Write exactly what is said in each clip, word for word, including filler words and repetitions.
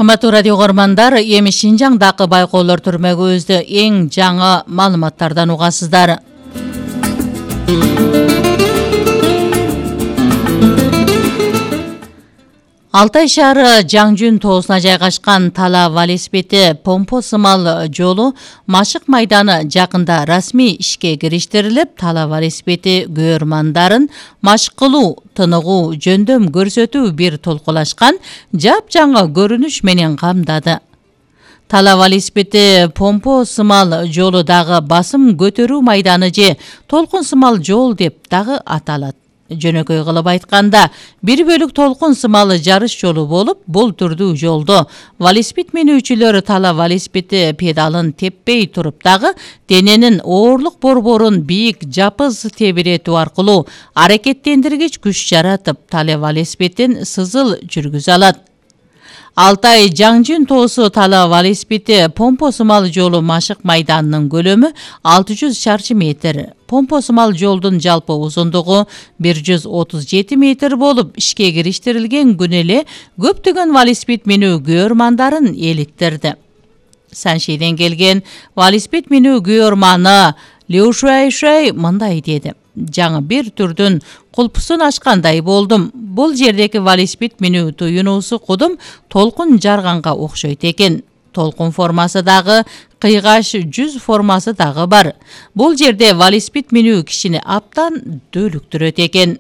Кымбаттуу радио көрөрмандар, эми Шинжаңдагы байкоолор түрмөгүбүздө эң жаңы маалыматтардан угасыздар. Алтай шаары Жаңжүн тоосуна жайгашкан Тала велосипеди помпо сымал жолу Машык майданы жакында расмий ишке кириштирилип, Тала велосипеди көрөрмандарын машык кылуу, тыныгуу, жөндөм көрсөтүү бир толкулашкан жапжаңы көрүнүш менен камдады. Тала велосипеди помпо сымал жолу дагы басым көтөрүү майданы же толкун сымал жол деп дагы аталат. Жөнөкөй кылып айтканда, бир бөлүк толкун сымалы жарыш жолу болуп, бул түрдүү жолдо велосипед менүүчүлөр Тала велосипеди педалын теппей туруп дагы дененин оорлук борборун бийик жапыз тебиретүү аркылуу аракеттендиргич күч жаратып, Тала велосипедин сызыл жүргүзө алат. Алтай Жаңжүн тоосу Тала велосипеди помпо сымал жолу Машык майданынын көлөмү алты жүз шарчы метр. Помпо сымал жолдун жалпы узундугу бир жүз отуз жети метр болуп, ишке кириштирилген күнү эле көптөгөн велосипед минүү көрөрмандарын эликтирди. Саншейден келген велосипед минүү көрөрманы Лю Шуай мындай деди: жаңы бир түрдүн кулпусун ачкандай болдум. Бул жердеги велосипед минүү туюнуусу кудум толкун жарганга окшойт экен. Толкун формасы дагы, кыйгаш жүз формасы дагы бар. Бул жерде велосипед минүү кишини аптан дөөлүктүрөт экен.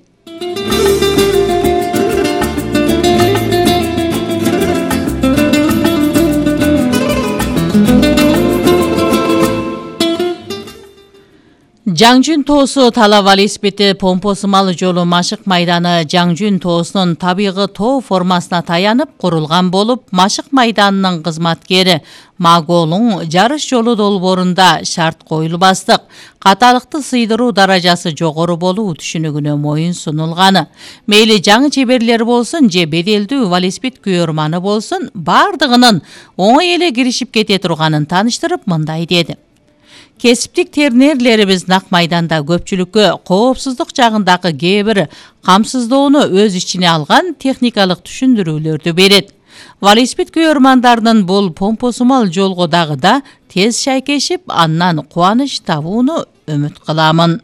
Жаңжүн тоосу Тала велосипеди помпо сымал жолу Машык майданы Жаңжүн тоосунун табигый тоо формасына таянып курулган болуп, Машык майданынын кызматкери Маголуң жарыш жолу долбоорунда шарт коюлбастык, каталыкты сыйдыруу даражасы жогору болуу түшүнүгүнө моюн сунулганы. Мейли жаңы чеберлер болсун же беделдүү велосипед көрөрманы болсун, бардыгынын оңой эле киришип кете турганын тааныштырып мындай деди: Кесиптик тренерлерибиз нак майданда көпчүлүккө коопсуздук жагындагы кээ бир камсыздоону өз ичине алган техникалык түшүндүрүүлөрдү берет. Велосипед көрөрмандарынын бул помпо сымал жолго дагы да тез шайкешип, андан кубаныч табууну үмүт кыламын.